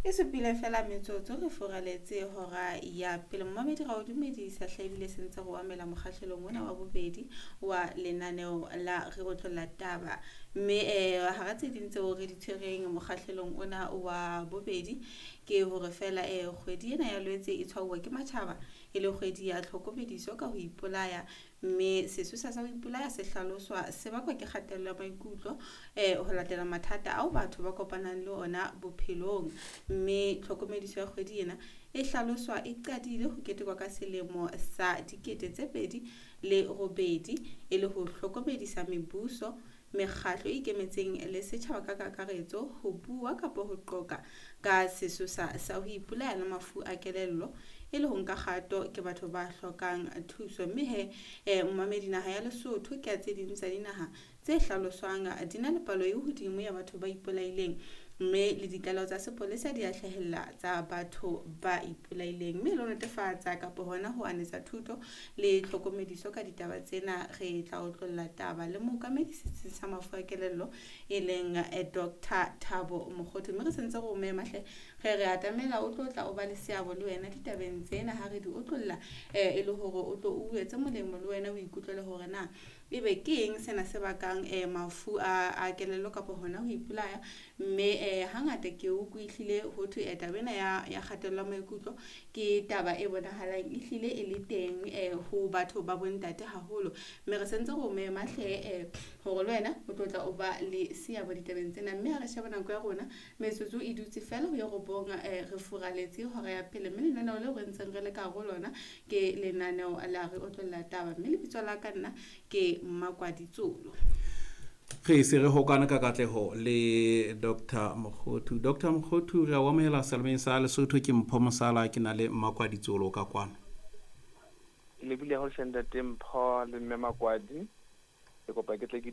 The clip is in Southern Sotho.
E supile fela metsotso re furaletse hora ya pele. Momamedi, ra o dumedisa hle, ebile sentse re o amela mokgahlelong ona wa bobedi wa lenaneo la Re Otlolla Taba. Mme hara tse ding tseo re di tshwereng mokgahlelong ona wa bobedi ke hore fela kgwedi ena ya Lwetse e tshwauwa ke matjhaba e le kgwedi ya tlhokomediso ka ho ipolaya. Mme sesosa sa ho ipolaya se hlaloswa se bakwa ke kgatello ya maikutlo ho latela mathata ao batho ba kopanang le ona bophelong. Mme tlhokomediso ya kgwedi ena e hlaloswa e qadile ho ketekwa ka selemo sa 2008 e le ho hlokomedisa mebuso, mekgatlo e ikemetseng le setjhaba ka kakaretso ho bua kapa ho qoqa ka sesosa sa ho ipolaya le mafu a kelello e le ho nka kgato ke batho ba hlokang thuso. Mme he momamedi, naha ya Lesotho ke ya tse ding tsa dinaha tse hlaloswang di na le palo e hodimo ya batho ba ipolaileng, mme le ditlaleho tsa sepolesa di a hlahella tsa batho ba ipolaileng. Mme le ho netefatsa kapa hona ho anetsa thuto le tlhokomediso ka ditaba tsena, re tla otlolla taba le mookamedi setsing sa mafu a kelello e leng Dr Thabo Mokgothu. Mme re sentse re o mema hle, re re atamela o tlo tla o ba le seabo le wena ditabeng tsena ha re di otlolla, e le hore o tlo o etse molemo le wena o ikutlwele hore na ebe ke eng sena se bakang mafu a kelello kapa hona ho ipolaya. Mme hangata ke utlwe ehlile ho thwe taba ena ya kgatello ya maikutlo ke taba e bonahalang ehlile e le teng ho batho ba bontate haholo. Mme re sentse re o mema hle hore le wena o tlo tla o ba le seabo ditabeng tsena. Mme ha re sheba nako ya rona, metsotso e dutse fela ho ye 9, re furaletse hora ya pele. Mme lenaneo leo re ntseng re le ka hare ho lona ke lenaneo la Re Otlolla Taba. Mme lebitso la ka nna ke Mmakwadi Tsolo. Re se re hokane ka katleho le Dr Mokgothu. Dr Mokgothu, re a o amohela selemeng sa Lesotho. Ke Mpho Mosala, ke na le Mmakwadi Tsolo ka kwano. Ke lebile haholo hle ntate Mpho le mme Makwadi. Ke kopa ke tle ke